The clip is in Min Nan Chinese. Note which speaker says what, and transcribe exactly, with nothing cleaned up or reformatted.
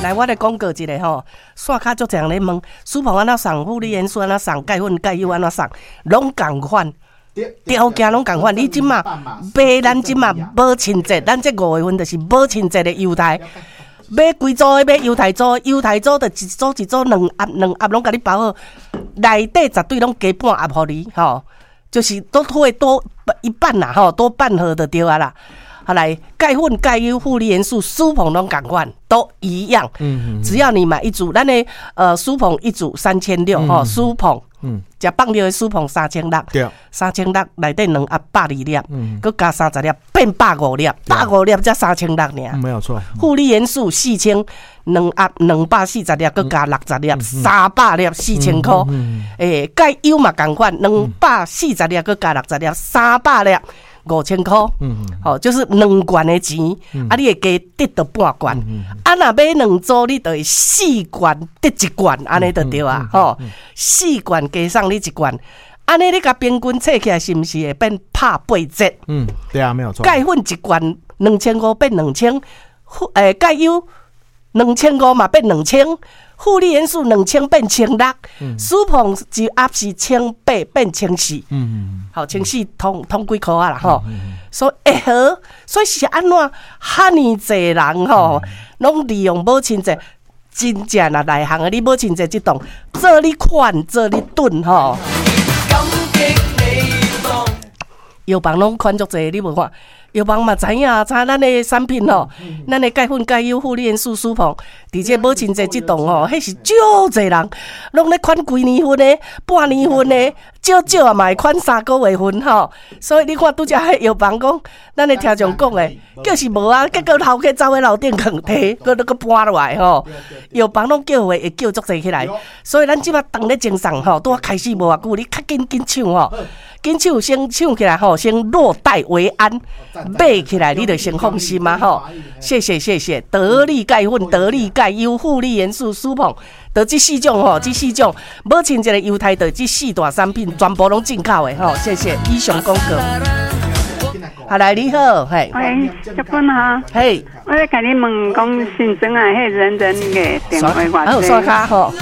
Speaker 1: 來，我來廣告一下吼，線跤足濟人咧問，舒鵬按怎送，富麗元素按怎送，鈣粉鈣油按怎送，攏仝款，條件攏仝款。你這馬買咱這馬母親節，咱這五月份就是母親節的優待。買規組的，買猶太組，猶太組就一組一組兩盒兩盒攏共你包好，內底絕對攏加半盒予你吼，就是都會多一半啦吼，多半盒就對啊啦。好來，鈣粉、鈣油、富麗元素、舒鵬攏仝款，都一樣。
Speaker 2: 嗯
Speaker 1: 只要你買一組，咱的呃舒鵬一組三千六吼，舒鵬，
Speaker 2: 嗯，
Speaker 1: 食放尿的舒鵬三千六，
Speaker 2: 對，
Speaker 1: 三千六內底兩盒百二粒，
Speaker 2: 嗯，
Speaker 1: 閣加三十粒，變百五粒，百五粒才三千六爾。
Speaker 2: 沒有錯。
Speaker 1: 富麗元素四千兩盒兩百四十粒，閣加六十粒，三百粒四千箍。欸，鈣油嘛仝款，兩百四十粒閣加六十粒，三百粒五千箍。
Speaker 2: 嗯，
Speaker 1: 吼，就是兩罐的錢，啊，你會加得著半罐。啊，若買兩組，你就會四罐得一罐，按呢就對啊，吼，四罐加送你一罐，按呢你共平均計起來，是毋是會變拍八折？
Speaker 2: 嗯，對啊，沒有錯。
Speaker 1: 鈣粉一罐兩千五變兩千，欸，鈣油兩千五嘛變兩千，富麗元素兩千變千六，舒鵬一盒是千八變千四，
Speaker 2: 嗯，
Speaker 1: 好，千四通通幾箍啊啦吼，所以會好，所以是按怎遐爾濟人吼，攏利用母親節，真正若內行的，你母親節這檔做你款，做你頓吼。藥房攏款足濟，你無看？藥房嘛知影，知影咱的產品吼，咱的鈣粉、鈣油、富麗元素、舒鵬，佇這母親節這檔吼，彼是足濟人，攏咧款規年份的、半年份的，少少啊嘛會款三個月份吼。所以你看拄才彼藥房講，咱的聽眾講的，叫是無啊，結果頭家走去樓頂囥提，閣閣搬落來吼。藥房攏叫貨會叫足濟起來，所以咱這馬當咧贈送吼，拄仔開始無偌久，你較緊緊搶吼。緊搶先搶起來吼，先落袋為安，買起來你就先放心嘛吼。謝謝謝謝，得力鈣粉、得力鈣油、富麗元素、舒鵬，就這四種吼，這四種母親節的優待，就這四大產品全部攏進口的吼。謝謝，以上廣告。好來，你好，嘿。
Speaker 3: 喂，小芬哈。
Speaker 1: 嘿。
Speaker 3: 我咧共你問講新莊啊，彼人人的電話偌濟？
Speaker 1: 好，刷卡吼。